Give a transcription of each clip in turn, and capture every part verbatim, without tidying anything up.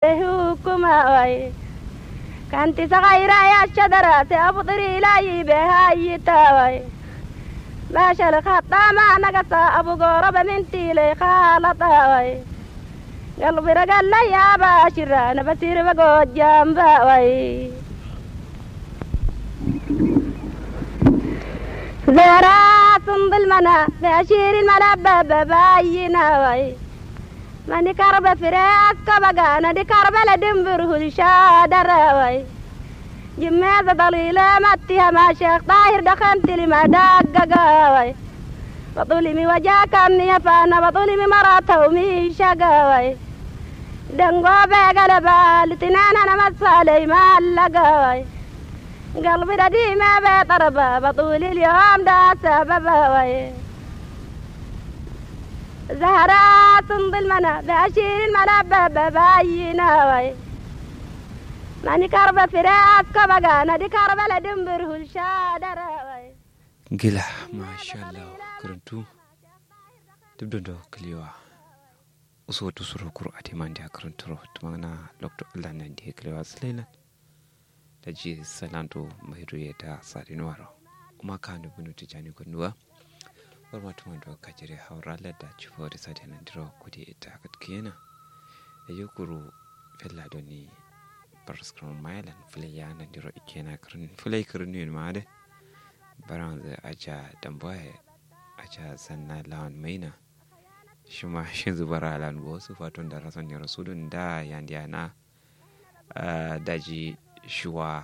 Hukuma wai. Kanti sakaira ya shadara te abu tiri layi be hayi ta wai. Bashal khatta ma nagasa abu goro be minti le khalata wai. Galbira galla ya bashira na basir be gojjam ba wai. Zara sundul mana be ashirin mana ba ba bayina wai. Mani karba fire aska bagana di karba la dimbir hul shadara wai. Jimme za dalile matti hama shekh tahir da khantil ma daggaga wai. Batuli mi waja kamni hafana batuli mi marata umi shaga wai. Dango be gala ba litinana na masalai ma allaga wai. Galbi da di ma be tarba batuli liyom da sababa wai. Zahara sundul mana be ashirin mana be be bayina wai. Mani karba fire aska bagana di karba la dimbir hul shadara wai. Gila mashallah. Kuruntu tubdondo kliwa. Uso tusuro kuru atiman dia kurunturo tumangana lokto allah nan dia kliwa silailan. Daji salanto mairu ye da sadin waro. Uma kanu bunu tijani kunduwa. Warma tumando kajire haura ladda cifori sade nandiro kudi ita katkiyena. Daji kuru fella doni. Paraskram mailan fulai ya nandiro ikena kirin fulai kirin yin ma de. Baranzu aja damboye. Aja sanna lawan maina. Shima shinzu bara lan bosu faton da rason yaro sudun da yandi ana. Daji shuwa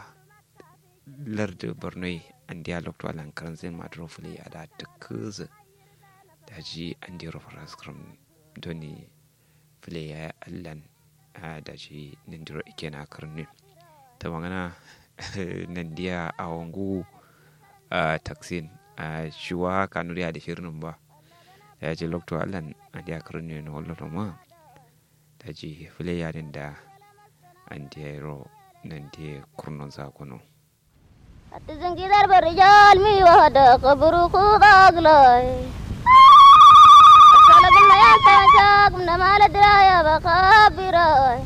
lardu bornoi andiya loktu alan karanzin maduro fule ya da tukkuzu. Daji andiro faraskram doni fule ya allan. Daji nandiro ikena karnin. Tamangana nandiya awongu. Taksin shuwa kanuri adi shirnin ba. Daji loktu allan andiya karnin wallo ma. Daji fule yadin da andiya ro nandiya kurnon zakono. Atizin gidar barijal mi wahada kaburu kuda gilai. Asala gimna yanta shak gimna mala diraya bakabira.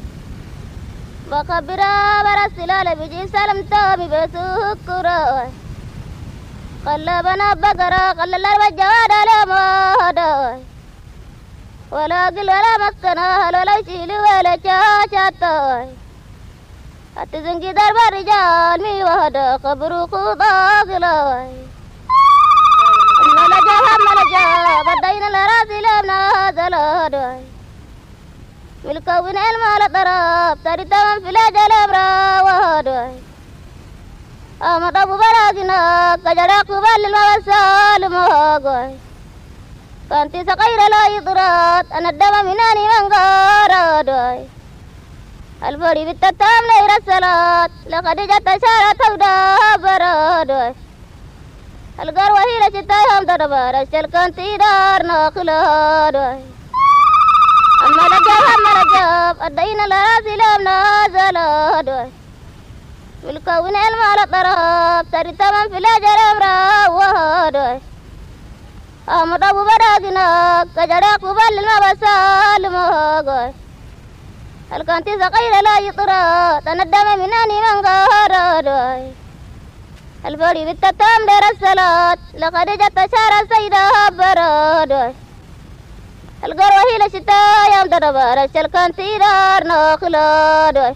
Bakabira bara silala biji salam tami besukura. Kalla bana bagara kalla larba jawada lama hada. Wala gil wala maskana hal wala shili wala chachata. Ati zingi darba rijal mi wahada kaburu kuda gilai. Malaja ha malaja badaina lara silam na zala doi. Milka win el mala taraf tari tamam fila jalam rawa doi. Amada bubaragina kajara kubal ma wasal ma goi. Kanti sakaira la idrat anadama minani mangara doi. Alfari bitta tam la ira salat la khadija tashara tawda bara doi. Algar wahila shita yom darbar ashal kanti dar na khila doi. Amma la jab amma la jab addaina la rasilam na zala doi. Milka win el mala taraf tari tamam fila jaram rawa doi. Amada bubaragina kajara kubal ma basal ma goi. Alkanti sakaira la yitra tanadama minani mangara doi. Alfari bitta tam dera salat la khadija tashara saida bara doi. Algar wahila shita yom darbar ashal kanti dar na khila doi.